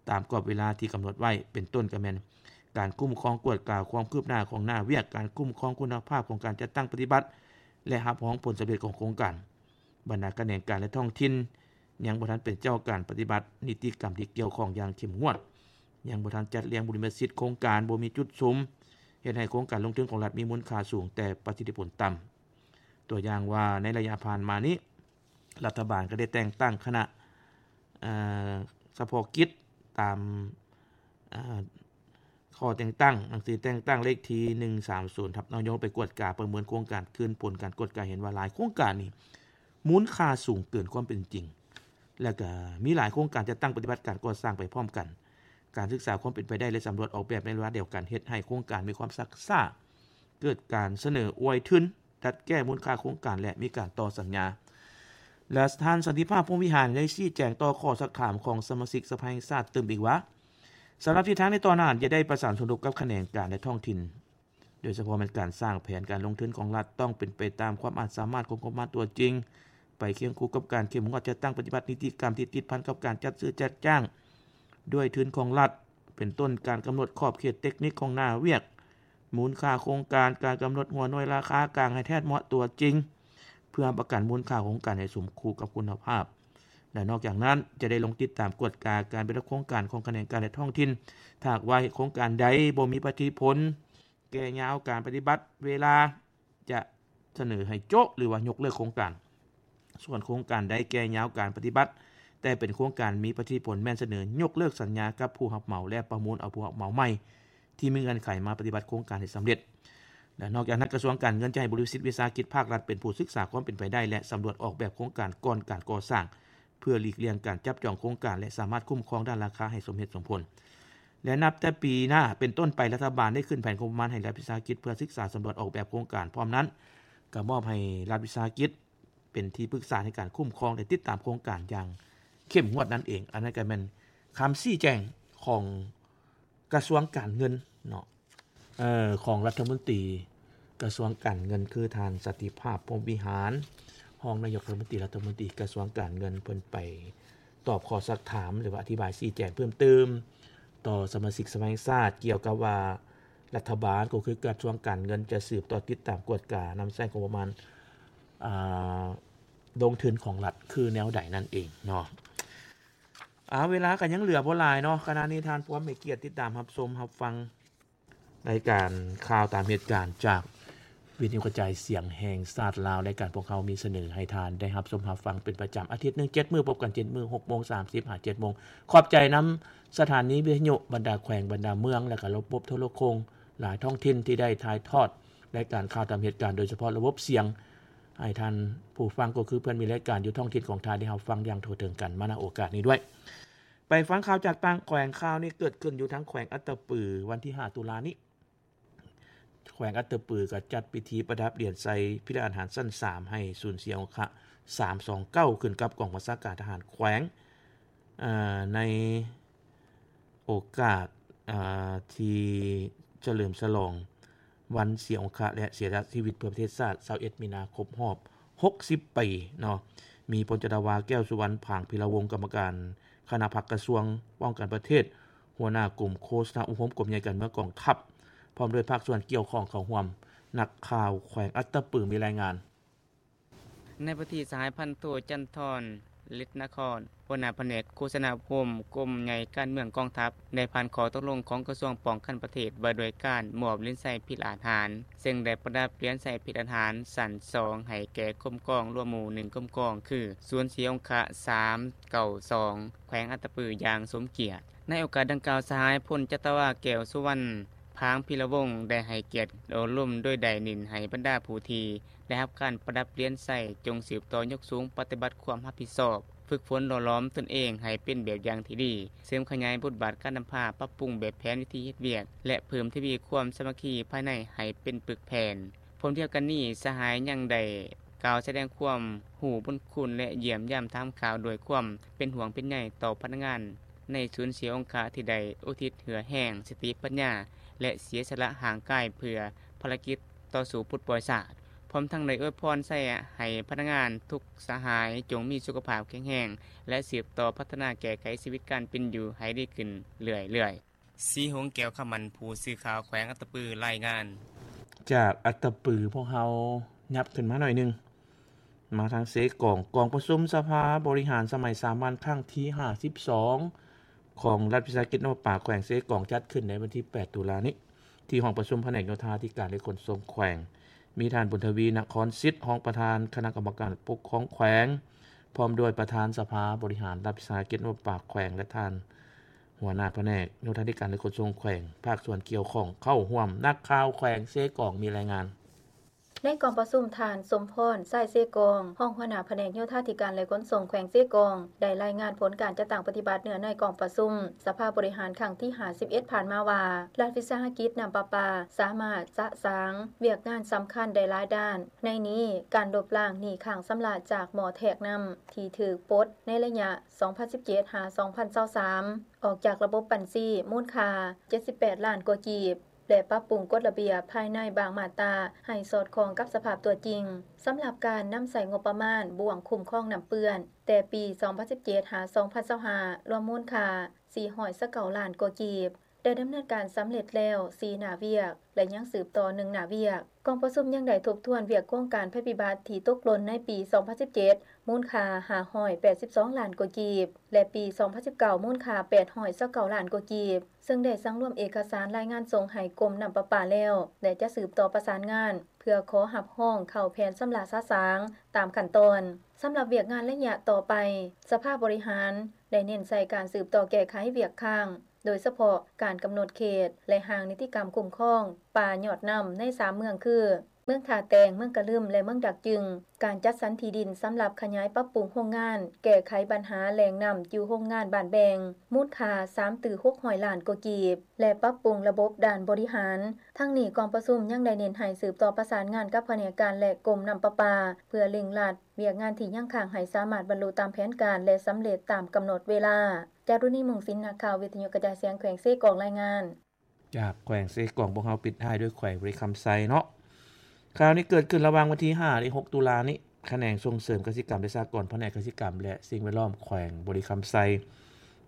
ຕາມກອບເວລາທີ່ກຳນົດໄວ້, ເປັນຕົ້ນກໍແມ່ນ ການຄຸ້ມຄອງກວດກາຄວາມຄືບໜ້າຂອງໜ້າວຽກ, ການຄຸ້ມຄອງຄຸນນະພາບຂອງການຈັດຕັ້ງປະຕິບັດ ແລະ ຮັບຮອງຜົນສຳເລັດຂອງໂຄງການ. ບັນດາຂະແໜງການ ແລະ ທ້ອງຖິ່ນ ຍັງບໍ່ທັນເປັນເຈົ້າການປະຕິບັດນິຕິກຳທີ່ກ່ຽວຂ້ອງຢ່າງເຂັ້ມງວດ, ຍັງບໍ່ທັນຈັດລຽງບຸລິມະສິດໂຄງການ, ບໍ່ມີຈຸດສຸມ, ເຮັດໃຫ້ໂຄງການລົງທຶນຂອງລັດມີມູນຄ່າສູງແຕ່ປະສິດທິຜົນຕ່ຳ. ຕົວຢ່າງວ່າໃນໄລຍະຜ່ານມານີ້ ລັດຖະບານກໍໄດ້ແຕ່ງຕັ້ງຄະນະ ເອີ ສະເພາະກິດຕາມ ເອີ ຂໍ້ແຕ່ງຕັ້ງ ໜັງສືແຕ່ງຕັ້ງເລກທີໜຶ່ງສາມສູນ ທັບ ນາຍົກ ໄປກວດກາປະເມີນໂຄງການ ຄືນຜົນການກວດກາເຫັນວ່າຫຼາຍໂຄງການນີ້ມູນຄ່າສູງເກີນຄວາມເປັນຈິງ ແລະ ກໍມີຫຼາຍໂຄງການຈັດຕັ້ງປະຕິບັດການກໍ່ສ້າງໄປພ້ອມກັນ. ການສຶກສາຄວາມເປັນໄປໄດ້ ແລະ ສຳຫຼວດອອກແບບໃນເວລາດຽວກັນ ເຮັດໃຫ້ໂຄງການມີຄວາມຊັກຊ້າ, ເກີດການສະເໜີອວຍທຶນ, ດັດແກ້ມູນຄ່າໂຄງການ ແລະ ມີການຕໍ່ສັນຍາ. ແລະ ທ່ານ ສັນຕິພາບ ພົມວິຫານ ໄດ້ຊີ້ແຈງຕໍ່ຂໍ້ຊັກຖາມຂອງສະມາຊິກສະພາແຫ່ງຊາດຕື່ມອີກວ່າ ສຳລັບທິດທາງໃນຕໍ່ໜ້າ ຈະໄດ້ປະສານສົມທົບກັບຂະແໜງການ ແລະ ທ້ອງຖິ່ນ, ໂດຍສະເພາະແມ່ນການສ້າງແຜນການລົງທຶນຂອງລັດ ຕ້ອງເປັນໄປຕາມຄວາມອາດສາມາດຂອງງົບປະມານຕົວຈິງ, ໄປຄຽງຄູ່ກັບການເຂັ້ມງວດຈັດຕັ້ງປະຕິບັດນິຕິກຳທີ່ຕິດພັນກັບການຈັດຊື້ຈັດຈ້າງດ້ວຍທຶນຂອງລັດ, ເປັນຕົ້ນການກຳນົດຂອບເຂດເຕັກນິກຂອງໜ້າວຽກ, ມູນຄ່າໂຄງການ, ການກຳນົດຫົວໜ່ວຍລາຄາກາງໃຫ້ແທດເໝາະຕົວຈິງ, ເພື່ອຮັບປະກັນມູນຄ່າໂຄງການໃຫ້ສົມຄູ່ກັບຄຸນນະພາບ. ແລະ ນອກຈາກນັ້ນ ຈະໄດ້ລົງຕິດຕາມກວດກາການປະຕິບັດໂຄງການຂອງຂະແໜງການ ແລະ ທ້ອງຖິ່ນ. ຖ້າຫາກວ່າເຮັດໂຄງການໃດບໍ່ມີປະສິດທິຜົນ, ແກ່ຍາວການປະຕິບັດ, ເວລາຈະສະເໜີໃຫ້ໂຈະ ຫຼືວ່າຍົກເລີກໂຄງການ. ສ່ວນໂຄງການໃດແກ່ຍາວການປະຕິບັດ ແຕ່ເປັນໂຄງການມີປະສິດທິຜົນ ແມ່ນສະເໜີຍົກເລີກສັນຍາກັບຜູ້ຮັບເໝົາ ແລະ ປະມູນເອົາຜູ້ຮັບເໝົາໃໝ່ ທີ່ມີເງື່ອນໄຂມາປະຕິບັດໂຄງການໃຫ້ສຳເລັດ. ແລະ ນອກຈາກນັ້ນ ກະຊວງການເງິນຈະໃຫ້ບໍລິສັດວິສາຫະກິດພາກລັດເປັນຜູ້ສຶກສາຄວາມເປັນໄປໄດ້ ແລະ ສຳຫຼວດອອກແບບໂຄງການກ່ອນການກໍ່ສ້າງ ເພື່ອຫຼີກລ່ຽງການຈັບຈອງໂຄງການ ແລະ ສາມາດຄຸ້ມຄອງດ້ານລາຄາໃຫ້ສົມເຫດສົມຜົນ. ແລະ ນັບແຕ່ປີໜ້າເປັນຕົ້ນໄປ, ລັດຖະບານໄດ້ຂຶ້ນແຜນງົບປະມານໃຫ້ລັດວິສາຫະກິດ ເພື່ອສຶກສາສຳຫຼວດອອກແບບໂຄງການ. ພ້ອມນັ້ນ, ກໍມອບໃຫ້ລັດວິສາຫະກິດ ເປັນທີ່ປຶກສາໃນການຄຸ້ມຄອງ ແລະ ຕິດຕາມໂຄງການຢ່າງເຂັ້ມງວດນັ້ນເອງ. ອັນນັ້ນກໍແມ່ນຄຳຊີ້ແຈງຂອງກະຊວງການເງິນເນາະ ເອີ ຂອງລັດຖະມົນຕີກະຊວງການເງິນ ຄືທ່ານ ສັນຕິພາບ ພົມວິຫານ ຮອງນາຍົກລັດຖະມົນຕີ ລັດຖະມົນຕີກະຊວງການເງິນ ເພິ່ນໄປຕອບຂໍ້ຊັກຖາມ ຫຼືວ່າອະທິບາຍຊີ້ແຈງເພີ່ມເຕີມຕໍ່ສະມາຊິກສະພາແຫ່ງຊາດ ກ່ຽວກັບວ່າລັດຖະບານ ກໍຄືກະຊວງການເງິນ ຈະສືບຕໍ່ຕິດຕາມກວດການຳໃຊ້ງົບປະມານ ອ່າ ລົງທຶນຂອງລັດຄືແນວໃດນັ້ນເອງເນາະ. ອາ ເວລາກໍຍັງເຫຼືອບໍ່ຫຼາຍເນາະ. ຂະນະນີ້ທ່ານພວມໃຫ້ກຽດຕິດຕາມຮັບຊົມຮັບຟັງລາຍການຂ່າວຕາມເຫດການຈາກວິທະຍຸກະຈາຍສຽງແຫ່ງຊາດລາວ. ລາຍການພວກເຮົາມີສະເໜີໃຫ້ທ່ານໄດ້ຮັບຊົມຮັບຟັງເປັນປະຈຳອາທິດໜຶ່ງ ເຈັດມື້ ພົບກັນເຈັດມື້ ຫົກໂມງສາມສິບຫາເຈັດໂມງ. ຂອບໃຈນຳສະຖານີວິທະຍຸບັນດາແຂວງ ບັນດາເມືອງ ແລະ ກະລະບົບໂທລະໂຄ່ງຫຼາຍທ້ອງຖິ່ນທີ່ໄດ້ຖ່າຍທອດ ລາຍການຂ່າວຕາມເຫດການ ໂດຍສະເພາະລະບົບສຽງ ໃຫ້ທ່ານຜູ້ຟັງ ກໍຄືເພື່ອນມີລາຍການຢູ່ທ້ອງຖິ່ນຂອງທ່ານ ໄດ້ຮັບຟັງຢ່າງທົ່ວເຖິງກັນມາ ນະໂອກາດນີ້ດ້ວຍ. ໄປຟັງຂ່າວຈາກຕ່າງແຂວງ. ຂ່າວນີ້ເກີດຂຶ້ນຢູ່ທາງແຂວງອັດຕະປື ວັນທີຫ້າ ຕຸລານີ້. ແຂວງອັດຕະປືກໍຈັດພິທີປະດັບຫຼຽນໃສ່ພິລະອາຫານຊັ້ນສາມ ໃຫ້ສູນເສຍອົງຄະ ສາມສອງເກົ້າ ຂຶ້ນກັບກອງບັນຊາການທະຫານແຂວງ ໃນ ໂອກາດ ອາ ທີ່ສະເຫຼີມສະຫຼອງວັນເສຍອົງຄະ ແລະ ເສຍສະຫຼະຊີວິດເພື່ອປະເທດຊາດ ຊາວເອັດ ມີນາ ຄົບຮອບຫົກສິບປີເນາະ. ມີ ພົນຈັດຕະວາ ແກ້ວສຸວັນ ຜາງພິລະວົງ ກຳມະການຄະນະພັກກະຊວງປ້ອງກັນປະເທດ, ຫົວໜ້າກົມໂຄສະນາອົບຮົມກົມໃຫຍ່ການເມືອງກອງທັບ ພ້ອມດ້ວຍພາກສ່ວນກ່ຽວຂ້ອງເຂົ້າຮ່ວມ. ນັກຂ່າວແຂວງອັດຕະປືມີລາຍງານ. ໃນພິທີ ສະຫາຍພັນໂທ ຈັນທອນ ລິດນະຄອນ ຫົວໜ້າພະແນກໂຄສະນາອົບຮົມກົມໃຫຍ່ການເມືອງກອງທັບ ໄດ້ຜ່ານຂໍ້ຕົກລົງຂອງກະຊວງປ້ອງກັນປະເທດ ວ່າດ້ວຍການມອບຫຼຽນໄຊພິລະອາຫານ, ເຊິ່ງໄດ້ປະດັບຫຼຽນໄຊພິລະອາຫານຊັ້ນສອງ ໃຫ້ແກ່ກົມກອງລວມໝູ່ໜຶ່ງກົມກອງ ຄື ສູນເສຍອົງຄະ ສາມເກົ້າສອງ ແຂວງອັດຕະປື ຢ່າງສົມກຽດ. ໃນໂອກາດດັ່ງກ່າວ, ສະຫາຍ ພົນຈັດຕະວາ ແກ້ວສຸວັນ ຜາງພິລະວົງ ໄດ້ໃຫ້ກຽດໂອ້ລົມ ໂດຍໄດ້ເນັ້ນໃຫ້ບັນດາຜູ້ທີ່ ໄດ້ຮັບການປະດັບຫຼຽນໄຊ ຈົ່ງສືບຕໍ່ຍົກສູງປະຕິບັດຄວາມຮັບຜິດຊອບ, ຝຶກຝົນຫຼໍ່ຫຼອມຕົນເອງໃຫ້ເປັນແບບຢ່າງທີ່ດີ, ເສີມຂະຫຍາຍບົດບາດການນຳພາ, ປັບປຸງແບບແຜນວິທີເຮັດວຽກ ແລະ ເພີ່ມທະວີຄວາມສາມັກຄີພາຍໃນໃຫ້ເປັນປຶກແຜ່ນ. ພ້ອມດຽວກັນນີ້, ສະຫາຍຍັງໄດ້ກ່າວສະແດງຄວາມຮູ້ບຸນຄຸນ ແລະ ຢ້ຽມຢາມຖາມຂ່າວດ້ວຍຄວາມເປັນຫ່ວງເປັນໃຍຕໍ່ພະນັກງານໃນສູນເສຍອົງຄະ ທີ່ໄດ້ອຸທິດເຫື່ອແຮງ, ສະຕິປັນຍາ ແລະ ເສຍສະຫຼະຮ່າງກາຍເພື່ອພາລະກິດຕໍ່ສູ້ປົດປ່ອຍຊາດ. ພ້ອມທັງໄດ້ອວຍພອນໄຊໃຫ້ພະນັກງານທຸກສະຫາຍຈົ່ງມີສຸຂະພາບແຂງແຮງ ແລະ ສືບຕໍ່ພັດທະນາແກ້ໄຂຊີວິດການເປັນຢູ່ໃຫ້ດີຂຶ້ນເລື້ອຍໆ. ສີຫົງ ແກ້ວຄຳໝັ້ນ ຜູ້ສື່ຂ່າວແຂວງອັດຕະປືລາຍງານ. ຈາກອັດຕະປື ພວກເຮົາຫຍັບຂຶ້ນມາໜ້ອຍໜຶ່ງ ມາທາງເຊກອງ. ກອງປະຊຸມສະພາບໍລິຫານສະໄໝສາມັນຄັ້ງທີຫ້າສິບສອງ ຂອງລັດວິສາຫະກິດນ້ຳປະປາແຂວງເຊກອງ ຈັດຂຶ້ນໃນວັນທີແປດ ຕຸລານີ້ ທີ່ຫ້ອງປະຊຸມພະແນກໂຍທາທິການ ແລະ ຂົນສົ່ງແຂວງ, ມີທ່ານ ບຸນທະວີ ນະຄອນສິດ ຮອງປະທານຄະນະກຳມະການປົກຄອງແຂວງ, ພ້ອມດ້ວຍປະທານສະພາບໍລິຫານລັດວິສາຫະກິດນ້ຳປະປາແຂວງ ແລະ ທ່ານຫົວໜ້າພະແນກໂຍທາທິການ ແລະ ຂົນສົ່ງແຂວງ, ພາກສ່ວນກ່ຽວຂ້ອງເຂົ້າຮ່ວມ. ນັກຂ່າວແຂວງເຊກອງມີລາຍງານ. ໃນກອງປະຊຸມ, ທ່ານ ສົມພອນ ຊາຍເຊກອງ ຮອງຫົວໜ້າພະແນກໂຍທາທິການ ແລະ ຂົນສົ່ງແຂວງເຊກອງ ໄດ້ລາຍງານຜົນການຈັດຕັ້ງປະຕິບັດເນື້ອໃນກອງປະຊຸມສະພາບໍລິຫານຄັ້ງທີຫ້າສິບເອັດ ຜ່ານມາວ່າ ລັດວິສາຫະກິດນ້ຳປະປາສາມາດສະສາງວຽກງານສຳຄັນໄດ້ຫຼາຍດ້ານ, ໃນນີ້ ການລົບລ້າງໜີ້ຄ້າງຊຳລະຈາກໝໍ້ແທກນ້ຳທີ່ຖືກປົດໃນໄລຍະ ສອງພັນສິບເຈັດ ຫາ ສອງພັນຊາວສາມ ອອກຈາກລະບົບບັນຊີ ມູນຄ່າເຈັດສິບແປດລ້ານກວ່າກີບ ແລະ ປັບປຸງກົດລະບຽບພາຍໃນບາງມາດຕາໃຫ້ສອດຄ່ອງກັບສະພາບຕົວຈິງ. ສຳລັບການນຳໃຊ້ງົບປະມານບ່ວງຄຸ້ມຄອງນ້ຳເປື້ອນ ແຕ່ປີສອງພັນສິບເຈັດ ຫາ ສອງພັນຊາວຫ້າ ລວມມູນຄ່າສີ່ຮ້ອຍຊາວເກົ້າລ້ານກວ່າກີບ, ໄດ້ດຳເນີນການສຳເລັດແລ້ວ ສີ່ໜ້າວຽກ ແລະ ຍັງສືບຕໍ່ ໜຶ່ງໜ້າວຽກ. ກອງປະຊຸມຍັງໄດ້ທົບທວນວຽກໂຄງການໄພພິບັດທີ່ຕົກຫຼົ່ນໃນປີ ສອງພັນສິບເຈັດ ມູນຄ່າ ຫ້າຮ້ອຍແປດສິບສອງລ້ານກວ່າກີບ ແລະ ປີ ສອງພັນສິບເກົ້າ ມູນຄ່າ ແປດຮ້ອຍຊາວເກົ້າລ້ານກວ່າກີບ ເຊິ່ງໄດ້ສັງລວມເອກະສານລາຍງານສົ່ງໃຫ້ກົມນ້ຳປະປາແລ້ວ ແລະ ຈະສືບຕໍ່ປະສານງານ ເພື່ອຂໍຮັບຮອງເຂົ້າແຜນຊຳລະສະສາງຕາມຂັ້ນຕອນ. ສຳລັບວຽກງານໄລຍະຕໍ່ໄປ, ສະພາບໍລິຫານໄດ້ເນັ້ນໃສ່ການສືບຕໍ່ແກ້ໄຂວຽກຄ້າງ, ໂດຍສະເພາະການກຳນົດເຂດ ແລະ ຮ່າງນິຕິກຳຄຸ້ມຄອງປ່າຍອດນ້ຳໃນສາມເມືອງຄື ເມືອງທ່າແຕງ, ເມືອງກະລຶມ ແລະ ເມືອງດາກຈຶງ, ການຈັດສັນທີ່ດິນສຳລັບຂະຫຍາຍປັບປຸງໂຮງງານແກ້ໄຂບັນຫາແຫຼ່ງນ້ຳຢູ່ໂຮງງານບ້ານແບງ ມູນຄ່າສາມຕື້ຫົກຮ້ອຍລ້ານກວ່າກີບ ແລະ ປັບປຸງລະບົບດ້ານບໍລິຫານ. ທັງນີ້, ກອງປະຊຸມຍັງໄດ້ເນັ້ນໃຫ້ສືບຕໍ່ປະສານງານກັບພະແນກການ ແລະ ກົມນ້ຳປະປາ ເພື່ອເລັ່ງລັດວຽກງານທີ່ຍັງຄ້າງໃຫ້ສາມາດບັນລຸຕາມແຜນການ ແລະ ສຳເລັດຕາມກຳນົດເວລາ. ຈາລຸນີ ມຸງສິນ, ນັກຂ່າວວິທະຍຸກະຈາຍສຽງແຂວງເຊກອງ ລາຍງານ. ຈາກແຂວງເຊກອງ ພວກເຮົາປິດທ້າຍດ້ວຍແຂວງບໍລິຄຳໄຊເນາະ. ຂ່າວນີ້ເກີດຂຶ້ນລະຫວ່າງວັນທີຫ້າ ແລະ ຫົກ ຕຸລານີ້, ຂະແໜງສົ່ງເສີມກະສິກຳ ແລະ ສະຫະກອນ ພະແນກກະສິກຳ ແລະ ສິ່ງແວດລ້ອມແຂວງບໍລິຄຳໄຊ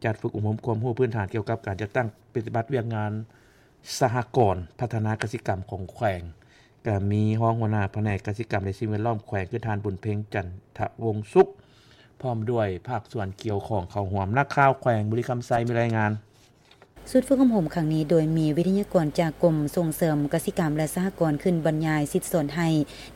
ຈັດຝຶກອົບຮົມຄວາມຮູ້ພື້ນຖານກ່ຽວກັບການຈັດຕັ້ງປະຕິບັດວຽກງານສະຫະກອນພັດທະນາກະສິກຳຂອງແຂວງ, ກະມີຮອງຫົວໜ້າພະແນກກະສິກຳ ແລະ ສິ່ງແວດລ້ອມແຂວງ ຄື ທ່ານ ບຸນເພັງ ຈັນທະວົງສຸກ ພ້ອມດ້ວຍພາກສ່ວນກ່ຽວຂ້ອງເຂົ້າຮ່ວມ. ນັກຂ່າວແຂວງບໍລິຄຳໄຊມີລາຍງານ. ຊຸດຝຶກອົບຮົມຄັ້ງນີ້ ໂດຍມີວິທະຍາກອນຈາກກົມສົ່ງເສີມກະສິກຳ ແລະ ສະຫະກອນ ຂຶ້ນບັນຍາຍສິດສອນໃຫ້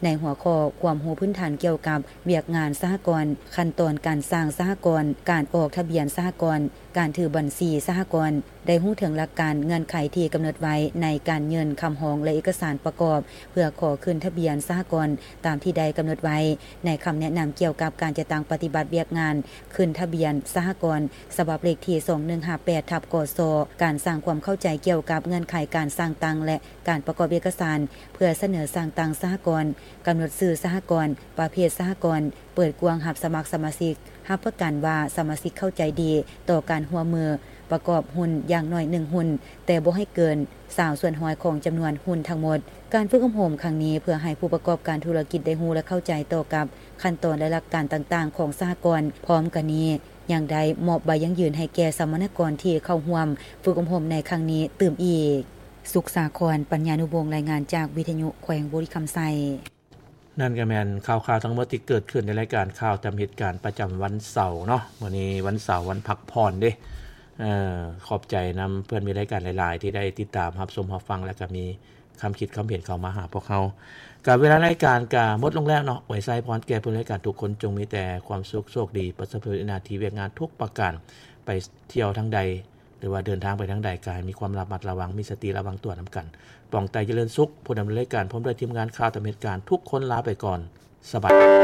ໃນຫົວຂໍ້ຄວາມຮູ້ພື້ນຖານກ່ຽວກັບວຽກງານສະຫະກອນ, ຂັ້ນຕອນການສ້າງສະຫະກອນ, ການອອກທະບຽນສະຫະກອນ, ການຖືບັນຊີສະຫະກອນ, ໄດ້ຮູ້ເຖິງຫຼັກການເງື່ອນໄຂທີ່ກຳນົດໄວ້ໃນການຍື່ນຄຳຮ້ອງ ແລະ ເອກະສານປະກອບ ເພື່ອຂໍຂຶ້ນທະບຽນສະຫະກອນ ຕາມທີ່ໄດ້ກຳນົດໄວ້ໃນຄຳແນະນຳກ່ຽວກັບການຈັດຕັ້ງປະຕິບັດວຽກງານ ຂຶ້ນທະບຽນສະຫະກອນ ສະບັບເລກທີ ສອງໜຶ່ງຫ້າແປດ ທັບ ກສ, ການສ້າງຄວາມເຂົ້າໃຈກ່ຽວກັບເງື່ອນໄຂການສ້າງຕັ້ງ ແລະ ການປະກອບເອກະສານເພື່ອສະເໜີສ້າງຕັ້ງສະຫະກອນ, ກຳນົດຊື່ສະຫະກອນ, ປະເພດສະຫະກອນ, ເປີດກວ້າງຮັບສະໝັກສະມາຊິກ, ຮັບປະກັນວ່າສະມາຊິກເຂົ້າໃຈດີຕໍ່ການຮ່ວມມືປະກອບຫຸ້ນຢ່າງໜ້ອຍໜຶ່ງຫຸ້ນ, ແຕ່ບໍ່ໃຫ້ເກີນຊາວສ່ວນຮ້ອຍຂອງຈຳນວນຫຸ້ນທັງໝົດ. ການຝຶກອົບຮົມຄັ້ງນີ້ ເພື່ອໃຫ້ຜູ້ປະກອບການທຸລະກິດໄດ້ຮູ້ ແລະ ເຂົ້າໃຈຕໍ່ກັບ ຂັ້ນຕອນ ແລະ ຫຼັກການຕ່າງໆຂອງສະຫະກອນ. ພ້ອມກັນນີ້ ຍັງໄດ້ມອບໃບຢັ້ງຢືນໃຫ້ແກ່ສຳມະນາກອນທີ່ເຂົ້າຮ່ວມຝຶກອົບຮົມໃນຄັ້ງນີ້ຕື່ມອີກ. ສຸກສາຄອນ ປັນຍານຸວົງ ລາຍງານຈາກວິທະຍຸແຂວງບໍລິຄຳໄຊ. ນັ້ນກໍແມ່ນຂ່າວໆທັງໝົດທີ່ເກີດຂຶ້ນໃນລາຍການຂ່າວຕາມເຫດການປະຈຳວັນເສົາເນາະ. ມື້ນີ້ວັນເສົາ ວັນພັກຜ່ອນເດ້. ເອີ ຂອບໃຈນຳເພື່ອນມິດລາຍການຫຼາຍໆ ທີ່ໄດ້ຕິດຕາມຮັບຊົມຮັບຟັງ ແລະ ກໍມີ ຄຳຄິດຄຳເຫັນເຂົ້າມາຫາພວກເຮົາ. ກະເວລາລາຍການກະໝົດລົງແລ້ວເນາະ. ອວຍໄຊພອນແກ່ເພື່ອນລາຍການທຸກຄົນ ຈົ່ງມີແຕ່ຄວາມສຸກໂຊກດີ ປະສົບຜົນສຳເລັດໜ້າທີ່ວຽກງານທຸກປະການ. ໄປທ່ຽວທາງໃດ ຫຼືວ່າເດີນທາງໄປທາງໃດ ກະໃຫ້ມີຄວາມລະມັດລະວັງ ມີສະຕິລະວັງຕົວນຳກັນ. ປອງໄຕ ຈະເລີນສຸກ ຜູ້ດຳເນີນລາຍການ ພ້ອມດ້ວຍທີມງານຂ່າວຕາມເຫດການ ທຸກຄົນລາໄປກ່ອນ. ສະບາຍ